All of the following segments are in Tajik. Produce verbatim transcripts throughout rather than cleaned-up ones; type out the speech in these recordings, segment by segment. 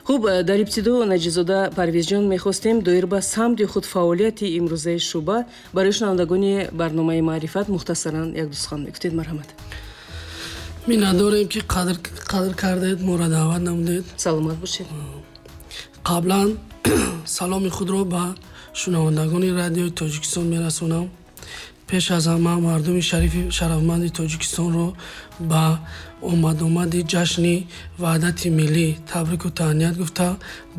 Хуб, дар ибтидо, Наҷизода Парвизҷон, мехостем доир ба самти худ фаъолияти имрӯзаи шӯъба барои шунавандагони барномаи «Маърифат» мухтасаран як ду сухан мегуфтед. Марҳамат. Миннатдорем, ки қадр қадр кардед, моро даъват намудед. Саломат бошед. Қаблан саломи худро ба шунавандагони Радиои Тоҷикистон мерасонам. Пеш аз ҳама мардуми шарифи шарафманди Тоҷикистонро ба омадомади ҷашни Ваҳдати Миллӣ табрику таҳният гуфта,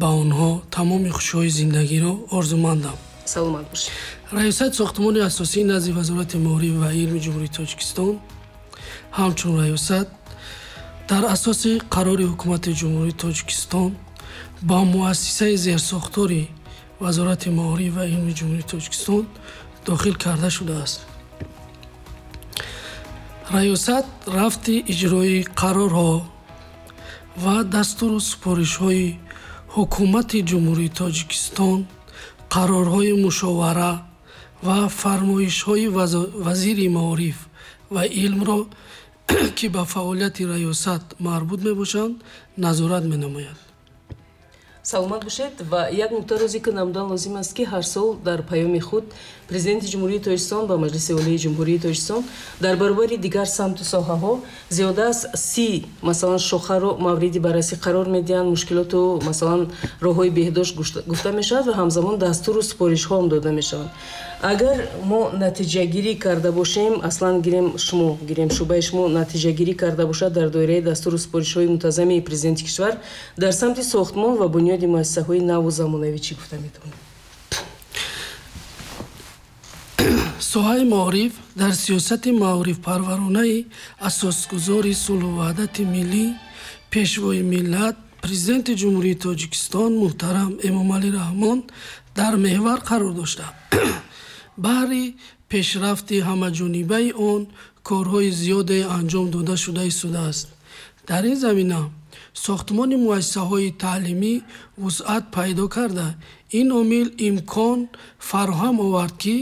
ба онҳо тамоми хушиҳои зиндагиро орзумандам. Саломат бошед. Раёсати сохтмони асосии назди Вазорати маориф ва илми Ҷумҳурии Тоҷикистон ҳамчун раёсат дар асоси қарори Ҳукумати Ҷумҳурии Тоҷикистон ба муассисаи зерсохтори Вазорати маориф ва илми Ҷумҳурии Тоҷикистон дохил карда шудааст. Раёсат рафти иҷрои қарорҳо ва дастуру супоришҳои Ҳукумати Ҷумҳурии Тоҷикистон, қарорҳои мушовара ва фармоишҳои вазири маориф ва илмро, ки ба фаъолияти раёсат марбут мебошанд, назорат менамояд. Саломат бошед. Ва як нуктаро зикр намудан лозим аст, ки ҳар сол дар паёми худ Президенти Ҷумҳурии Тоҷикистон ба Маҷлиси Олии Ҷумҳурии Тоҷикистон дар баробари дигар самту соҳаҳо зиёда аз си, масалан, шохаро мавриди баррасӣ қарор медиҳанд, мушкилоту, масалан, роҳҳои беҳдошт гуфта мешавад ва ҳамзамон дастуру супоришҳоам дода мешаванд. Агар мо натиҷагирӣ карда бошем, аслан гирем, шумо гирем, шӯъбаи шумо натиҷагирӣ карда бошад дар доираи дастуру супоришҳои мунтазами президенти кишвар дар самти сохтмон ва бунёди муассисаҳои наву замонавӣ, чӣ гуфта метавонем? Соҳаи маориф дар сиёсати маорифпарваронаи асосгузори сулҳу ваҳдати миллӣ, Пешвои миллат, Президенти Ҷумҳурии Тоҷикистон муҳтарам Эмомалӣ Раҳмон дар меҳвар қарор дошта, баҳри пешрафти ҳамаҷонибаи он корҳои зиёде анҷом дода шуда истодааст. Дар ин замина сохтмони муассисаҳои таълимӣ вусъат пайдо карда, ин омил имкон фароҳам овард, ки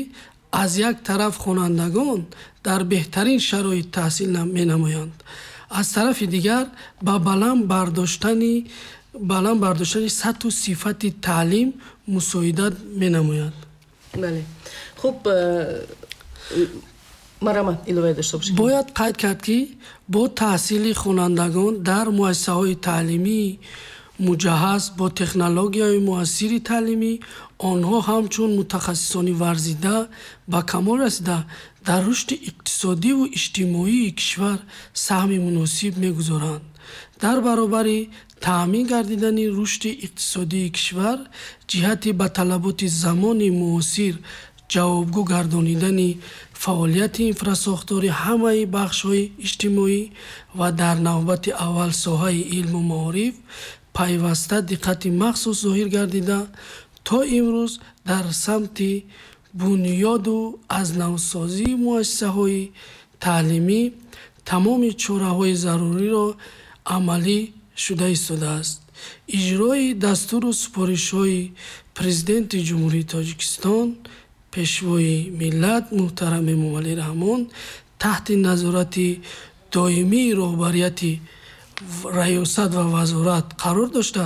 аз як тараф хонандагон дар беҳтарин шароит таҳсил менамоянд, аз тарафи дигар ба баланд бардоштани баланд бардоштани сатҳу сифати таълим мусоидат менамояд. Бале, хуб, э, марҳамат, иловае дошта бошед. Бояд қайд кард, ки бо таҳсили хонандагон дар муассисаҳои таълимии муҷаҳҳаз бо технологияҳои муассири таълимӣ онҳо ҳамчун мутахассисони варзида ба камол расида, дар рушди иқтисодиву иҷтимоии кишвар саҳми муносиб мегузоранд. Дар баробари таъмин гардидани рушди иқтисодии кишвар, ҷиҳати ба талаботи замони муосир ҷавобгӯ гардонидани фаъолияти инфрасохтори ҳамаи бахшҳои иҷтимоӣ ва дар навбати аввал соҳаи илму маориф пайваста диққати махсус зоҳир гардида, то имрӯз дар самти бунёду аз навсозии муассисаҳои таълимӣ тамоми чораҳои заруриро амалӣ шуда истодааст. Иҷрои дастуру супоришҳои Президенти Ҷумҳурии Тоҷикистон, Пешвои миллат муҳтарам Эмомалӣ Раҳмон таҳти назорати доимии роҳбарияти раёсат ва вазорат қарор дошта,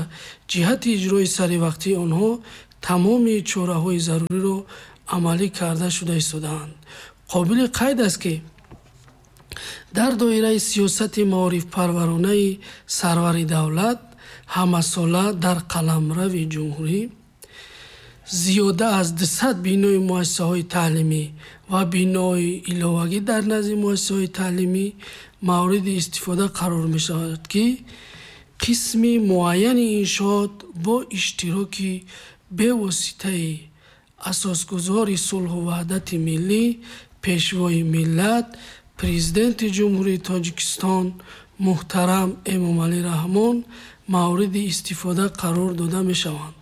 ҷиҳати иҷрои саривақтии онҳо тамоми чораҳои заруриро амалӣ карда шуда истодаанд. Қобили қайд аст, ки дар доираи сиёсати маорифпарваронаи сарвари давлат ҳамасола дар қаламрави ҷумҳурӣ зиёда аз дусад бинои муассисаҳои таълимӣ ва бинои иловагӣ дар назди муассисаҳои таълимӣ мавриди истифода қарор мешавад, ки қисми муайяни иншоот бо иштироки бевоситаи асосгузори сулҳу ваҳдати миллӣ, Пешвои миллат, Президенти Ҷумҳурии Тоҷикистон муҳтарам Эмомалӣ Раҳмон мавриди истифода қарор дода мешаванд.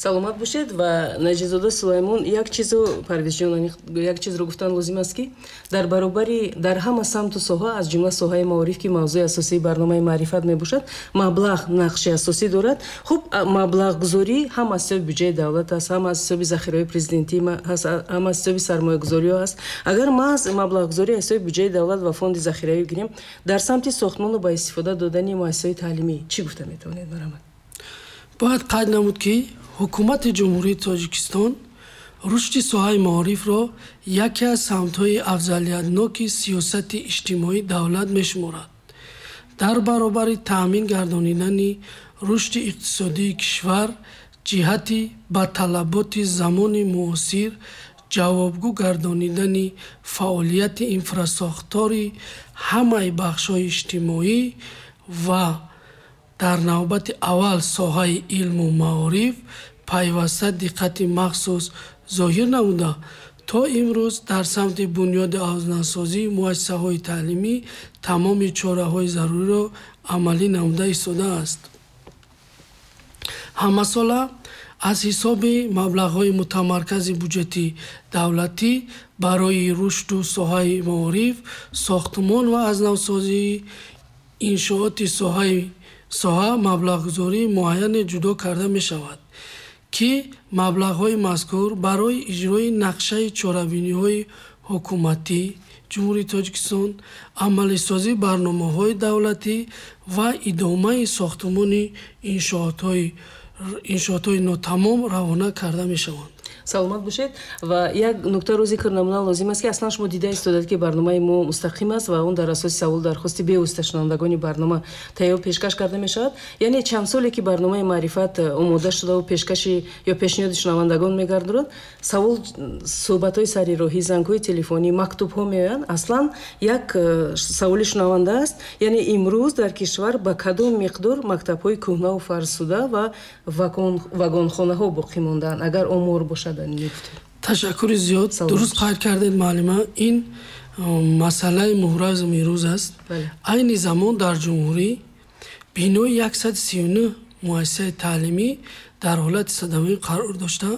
Саломат бошед. Ва Наҷизода Сулаймон, як чизу, Парвизҷон, як чизро гуфтан лозим аст, ки дар баробари дар ҳама самту соҳа, аз ҷумла соҳаи маориф, ки мавзӯи асосии барномаи «Маърифат» мебошад, маблағ нақши асосӣ дорад. Хуб, маблағгузорӣ ҳам аз ҳисоби буҷаи давлат аст, ҳам аз ҳисоби захираҳои президентӣ ҳаст, ҳам аз ҳисоби сармоягузориҳо ҳаст. Агар маҳз маблағгузорӣ аз ҳисоби буҷаи давлат ва фонди захиравӣ гирем, дар самти сохтмону ба истифода додани муассисаҳои таълимӣ чӣ гуфта метавонед? Марҳамат. Бояд қайд намуд, ки ҳукумати Ҷумҳурии Тоҷикистон рушди соҳаи маорифро яке аз самтҳои афзалиятноки сиёсати иҷтимоии давлат мешуморад. Дар баробари таъмин гардонидани рушди иқтисодии кишвар ҷиҳати ба талаботи замони муосир ҷавобгӯ гардонидани фаъолияти инфрасохтори ҳамаи бахшҳои иҷтимоӣ ва дар навбати аввал соҳаи илму маориф пайваста диққати махсус зоҳир намуда, то имрӯз дар самти бунёди авзнасозии муассисаҳои таълимӣ тамоми чораҳои заруриро амалӣ намуда истодааст. Ҳамасола аз ҳисоби маблағҳои мутамаркази буҷети давлатӣ барои рушду соҳаи маориф, сохтмон ва аз навсозии иншооти соҳа маблағгузории муайяне ҷудо карда мешавад, ки маблағҳои мазкур барои иҷрои нақшаи чорабиниҳои ҳукуматӣ Ҷумҳурии Тоҷикистон, амалисозии барномаҳои давлатӣ ва идомаи сохтмони иншоотҳои нотамом равона карда мешаванд. Саломат бошед. Ва як нуктаро зикр намудан лозим аст, ки аслан шумо дида истодад, ки барномаи мо мустақим аст ва он дар асоси савол дархости бевосита шунавандагони барнома тайёр пешкаш карда мешавад. Яъне чанд соле ки барномаи маърифат омода шудаву пешкаши ё пешниҳоди шунавандагон мегардонад, савол, суҳбатҳои сари роҳӣ, зангҳои телефонӣ, мактубҳо меоянд. Аслан як саволи шунаванда аст, яъне имрӯз дар кишвар ба кадом миқдор мактабҳои кӯҳнаву фарсуда ва вагонхонаҳо боқӣ мондаанд, агар омор бошад? Ташаккури зиёд. Дуруст қайд кардед, муаллима. Ин масъалаи муҳразми имрӯз аст. Айни замон дар ҷумҳурӣ бинои яксаду сию нӯҳ муассисаи таълимӣ дар ҳолати садамавӣ қарор дошта,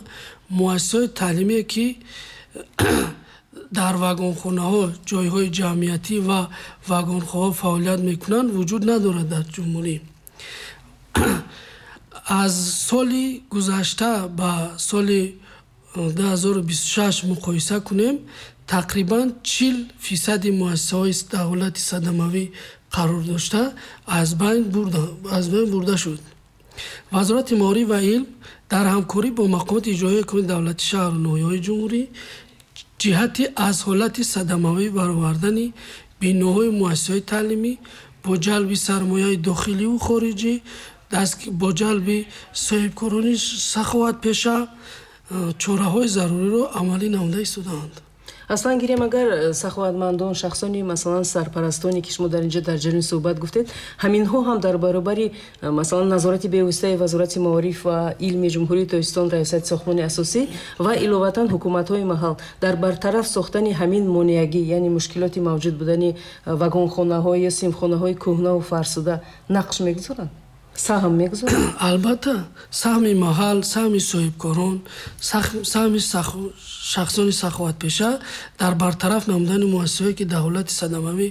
муассисаҳои таълимие ки дар вагонхонаҳо, ҷойҳои ҷамъиятӣ ва вагонхонаҳо фаъолият мекунанд, вуҷуд надорад дар ҷумҳурӣ. Аз соли гузашта ба соли ду ҳазору бисту шаш муқоиса кунем, тақрибан чил фисади муассисаҳои дар ҳолати садамавӣ қарор дошта аз байн бурда шуд. Вазорати маориф ва илм дар ҳамкорӣ бо мақомоти иҷроияи ҳукумати давлати шаҳру ноҳияҳои ҷумҳурӣ ҷиҳати аз ҳолати садамавӣ баровардани биноҳои муассисаҳои таълимӣ бо ҷалби сармояи дохиливу хориҷӣ, бо ҷалби соҳибкорони саховатпеша чораҳои заруриро амалӣ намуда истодаанд. Аслан гирем, агар саховатмандон, шахсони масалан сарпарастоне ки шумо дар инҷо дар ҷараёни суҳбат гуфтед, ҳаминҳо ҳам дар баробари масалан назорати бевоситаи Вазорати маориф ва илми Ҷумҳурии Тоҷикистон, Раёсати сохтмони асосӣ ва иловатан ҳукуматҳои маҳал дар бартараф сохтани ҳамин монеагӣ, яъне мушкилоти мавҷуд будани вагонхонаҳо ё синфхонаҳои кӯҳнаву фарсуда нақш мегузоранд, саҳм мегузоранд? Албатта, саҳми маҳал, саҳми соҳибкорон, саҳми шахсони саховатпеша дар бартараф намудани муассисаҳое ки дар ҳолати садамавӣ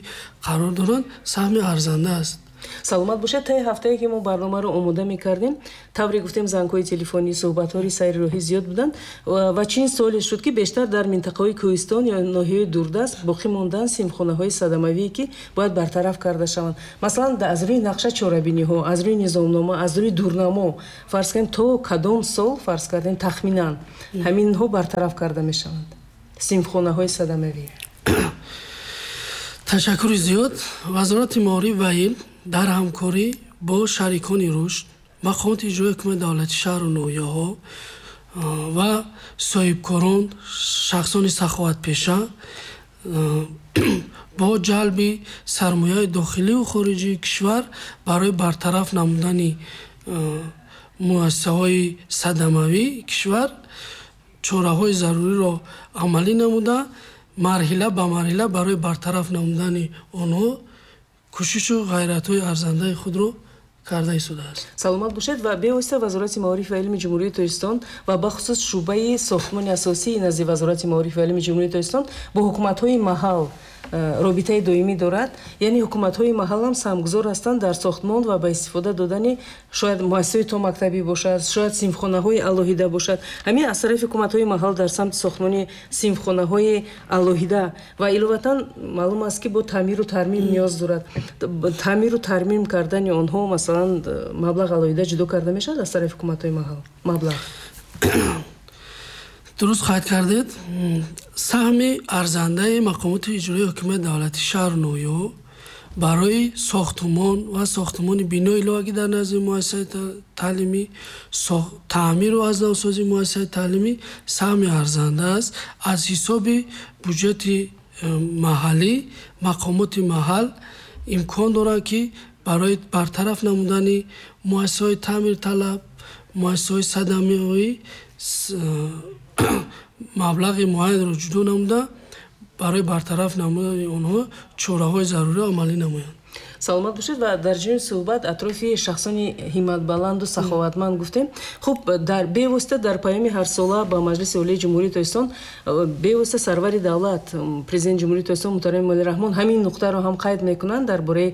қарор доранд, саҳми арзанда аст. Саломат бошед. Таи ҳафтае ки мо барномаро омода мекардем, тавре гуфтем, зангҳои телефонӣ, суҳбатҳои сайри роҳӣ зиёд буданд ва чин суоле шуд, ки бештар дар минтақаҳои кӯҳистон ё ноҳияи дурдаст боқӣ мондаанд синфхонаҳои садамавие ки бояд бартараф карда шаванд. Масалан, аз рӯи нақша чорабиниҳо, аз рӯи низомнома, аз рӯи дурнамо, фарз кардем, то кадом сол, фарз кардем, тахминан ҳаминҳо бартараф карда мешаванд, синфхонаҳои садамавӣ? Ташаккури зиёд. Вазорати маориф ва илм дар ҳамкорӣ бо шарикони рушд, мақомоти иҷроияи ҳукумати давлати шаҳру ноҳияҳо ва соҳибкорон, шахсони саховатпеша бо ҷалби сармояи дохиливу хориҷии кишвар барои бартараф намудани муассисаҳои садамавии кишвар чораҳои заруриро амалӣ намуда, марҳила ба марҳила барои бартараф намудани онҳо кӯшишу ғайратҳои арзандаи худро карда истодааст. Саломат бошед. Ва бевосита Вазорати маориф ва илми Ҷумҳурии Тоҷикистон ва бахусус шӯъбаи сохтмони асосии назди Вазорати маориф ва илми Ҷумҳурии Тоҷикистон бо ҳукуматҳои маҳал робитаи доимӣ дорад. Яъне ҳукуматҳои маҳал ҳам саҳмгузор ҳастанд дар сохтмон ва ба истифода додани шояд муассисаҳои томактабӣ бошад, шояд синфхонаҳои алоҳида бошад. Ҳамин аз тарафи ҳукуматҳои маҳал дар самти сохтмони синфхонаҳои алоҳида ва иловатан маълум аст, ки бо таъмиру тармим ниёз дорад. Таъмиру тармим кардани онҳо масалан маблағ алоҳида ҷудо карда мешавад аз тарафи ҳукуматҳои маҳал? Маблағ дуруст қайд кардед. Саҳми арзандаи мақомоти иҷроии ҳукумати давлатии шаҳру ноҳияҳо барои сохтумон ва сохтумони бинои иловагӣ дар назди муассисаи таълимӣ, таъмиру аз навсозии муассисаи таълимӣ саҳми арзанда аст. Аз ҳисоби буҷети маҳаллӣ мақомоти маҳал имкон доранд, ки барои бартараф намудани муассисаҳои таъмирталаб, муассисаҳои садамавӣ маблағи муайянро ҷудо намуда барои бартараф намудани онҳо чораҳои заруриро амалӣ намоянд. Саломат бошед. Ва дар ҷони суҳбат атрофи шахсони ҳимматбаланду саховатманд гуфтем. Хуб, дар бевосита дар паёми ҳарсола ба Маҷлиси Олии Ҷумҳурии Тоҷикистон бевосита сарвари давлат, президенти Ҷумҳурии Тоҷикистон муҳтарам Эмомалӣ Раҳмон ҳамин нуқтаро ҳам қайд мекунанд дар бораи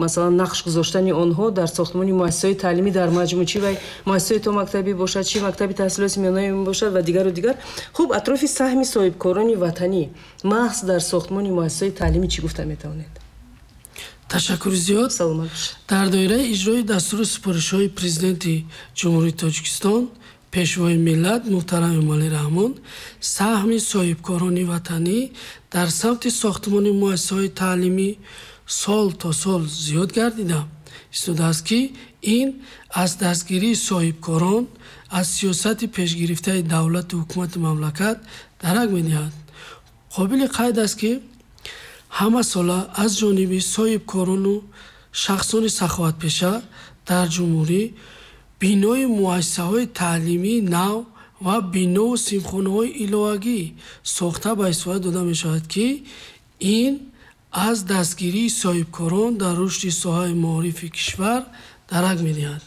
масалан нақш гузоштани онҳо дар сохтмони муассисаҳои таълимӣ дар маҷмӯъ, чи вай муассисаҳои томактабӣ бошад, чи мактаби таҳсилоти миёнаи бошад ва дигару дигар. Хуб, атрофи саҳми соҳибкорони ватанӣ маҳз дар сохтмони муассисаҳои таълимӣ чӣ гуфта метавонед? Ташаккури зиёд. Дар доираи иҷрои дастуру супоришҳои Президенти Ҷумҳурии Тоҷикистон, Пешвои миллат муҳтарам Эмомалӣ Раҳмон саҳми соҳибкорони ватанӣ дар самти сохтмони муассисаҳои таълимӣ сол то сол зиёд гардида истодааст, ки ин аз дастгирии соҳибкорон аз сиёсати пешгирифтаи давлату ҳукумати мамлакат дарак медиҳад. Қобили қайд аст, ки ҳама сола аз ҷониби соҳибкорону шахсони саховатпеша дар ҷумҳурӣ бинои муассисаҳои таълимии нав ва бинову синфхонаҳои иловагӣ сохта ба истифода дода мешавад, ки ин аз дастгирии соҳибкорон дар рушди соҳаи маорифи кишвар дарак медиҳад.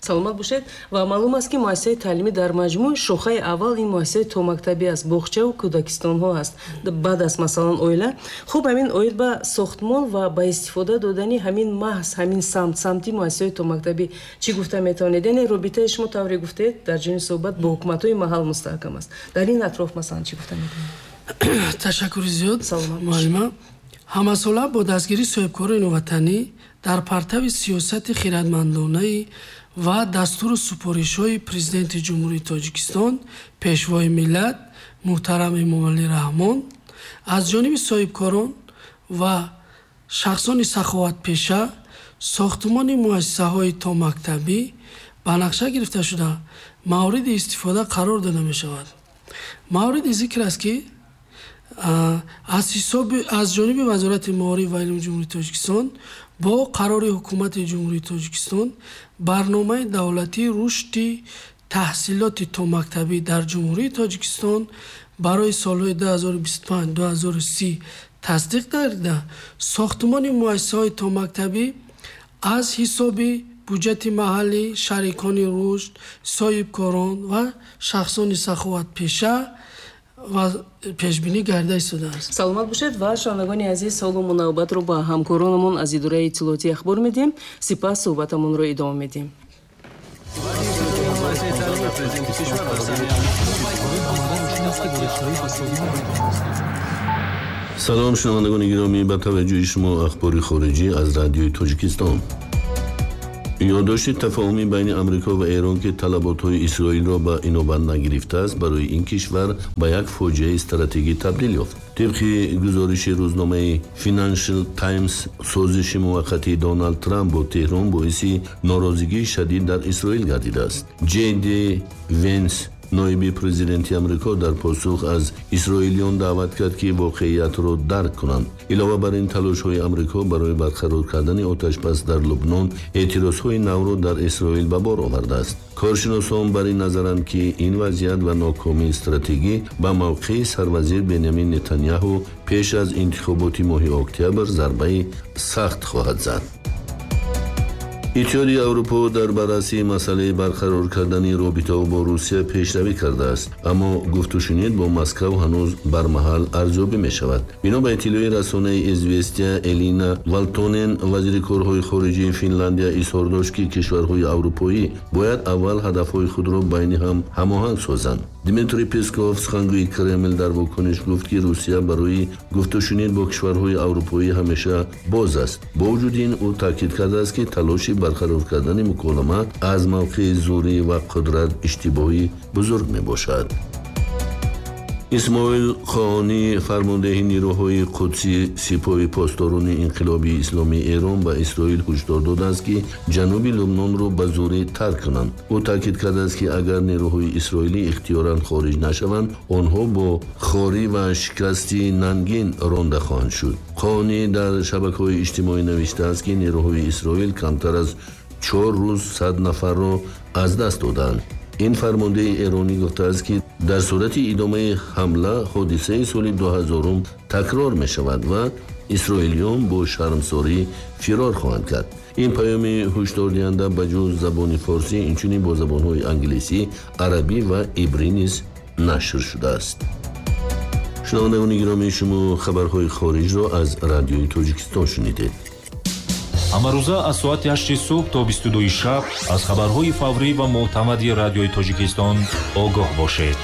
Саломат бошед. Ва маълум аст, ки муассисаи таълимӣ дар маҷмӯъ шохаи аввал ин муассисаи томактабӣ аст, боғчаву кӯдакистонҳо аст, баъд аз масалан оила. Хуб, ҳамин оид ба сохтмон ва ба истифода додани ҳамин маҳз ҳамин самт, самти муассисаи томактабӣ чӣ гуфта метавонед? Яъне робитаи шумо тавре гуфтед дар ҷони суҳбат бо ҳукуматҳои маҳал мустаҳкам аст. Дар ин атроф масалан чӣ гуфта метавонед? Ташаккури зиёд, муаллима. Ҳамасола бо дастгирии соҳибкорони ватанӣ дар партави сиёсати хирадмандонаи ва дастуру супоришҳои Президенти Ҷумҳурии Тоҷикистон, Пешвои миллат муҳтарам Эмомалӣ Раҳмон аз ҷониби соҳибкорон ва шахсони саховатпеша сохтмони муассисаҳои томактабӣ ба нақша гирифта шуда мавриди истифода қарор дода мешавад. Мавриди зикр аст, ки аз ҳисоби аз ҷониби Вазорати маориф ва илми Ҷумҳурии Тоҷикистон бо қарори Ҳукумати Ҷумҳурии Тоҷикистон барномаи давлатии рушди таҳсилоти томактабӣ дар Ҷумҳурии Тоҷикистон барои солҳои ду ҳазору бисту панҷ ду ҳазору си тасдиқ гардида сохтмони муассисаҳои томактабӣ аз ҳисоби буҷети маҳаллӣ, шарикони рушд, соҳибкорон ва шахсони саховатпеша ва пешбинӣ гардида истодааст. Саломат бошед ва шунавандагони азиз, ҳоло мо навбатро ба ҳамкоронамон аз идораи иттилоотии ахбор медиҳем, сипас суҳбатамонро идома медиҳем. Салом шунавандагони гиромӣ, ба таваҷҷӯҳи шумо ахбори хориҷӣ аз радиои Тоҷикистон. Ёддошти тафоҳумӣ байни Амрико ва Эрон, ки талаботҳои Исроилро ба инобат нагирифтааст, барои ин кишвар ба як фоҷиаи стратегӣ табдил ёфт. Тибқи гузориши рӯзномаи Financial Times, созиши муваққатии Доналд Трамп бо Теҳрон боиси норозигии шадид дар Исроил гардидааст. Ҷей Ди Венс, ноиби президенти Амрико, дар посух аз исроилиён даъват кард, ки воқеиятро дарк кунанд. Илова бар ин, талошҳои Амрико барои барқарор кардани оташбас дар Лубнон эътирозҳои навро дар Исроил ба бор овардааст. Коршиносон бар ин назаранд, ки ин вазъият ва нокомии стратегӣ ба мавқеи сарвазир Бенямин Нетаняҳу пеш аз интихоботи моҳи октябр зарбаи сахт хоҳад зад. Иттиҳоди Аврупо дар баррасии масъалаи барқарор кардани робитаҳо бо Русия пешравӣ кардааст, аммо гуфтушунид бо Москав ҳанӯз бармаҳал арзёбӣ мешавад. Бино ба иттилои расонаи Известия, Элина Валтонен, вазири корҳои хориҷии Финландия, изҳор дошт, ки кишварҳои аврупоӣ бояд аввал ҳадафҳои худро байни ҳам ҳамоҳанг созанд. Дмитрий Песков, сухангӯи Кремл, дар вокуниш гуфт, ки Русия барои гуфтушунид бо кишварҳои аврупоӣ ҳамеша боз аст. Бо вуҷуди ин, ӯ таъкид кардааст, ки талоши барқарор кардани муколама аз мавқеи зӯрӣ ва қудрат иштибоҳи бузург мебошад. Исмоил Қоонӣ, фармондеҳи нирӯҳои Қудси Сипоҳи Посдорони Инқилоби Исломии Эрон, ба Исроил ҳушдор додааст, ки ҷануби Лубнонро ба зӯрӣ тарк кунанд. Ӯ таъкид кардааст, ки агар нирӯҳои исроилӣ ихтиёран хориҷ нашаванд, онҳо бо хорӣ ва шикасти нангин ронда хоҳанд шуд. Қоонӣ дар шабакаҳои иҷтимоӣ навиштааст, ки нирӯҳои Исроил камтар аз чор рӯз сад нафарро аз даст доданд. Ин фармондеҳи эронӣ гуфтааст, ки дар сурати идомаи ҳамла ҳодисаи соли дуҳазорум такрор мешавад ва исроилиён бо шармсорӣ фирор хоҳанд кард. Ин паёми ҳушдордиҳанда ба ҷуз забони форсӣ инчунин бо забонҳои англисӣ, арабӣ ва ибрӣ низ нашр шудааст. Шунавандагони гиромӣ, шумо хабарҳои хориҷро аз Радиои Тоҷикистон шунидед. Ҳамарӯза аз соати ҳашти субҳ то бисту дуи шаб аз хабарҳои фаврӣ ва мӯътамади Радиои Тоҷикистон огоҳ бошед.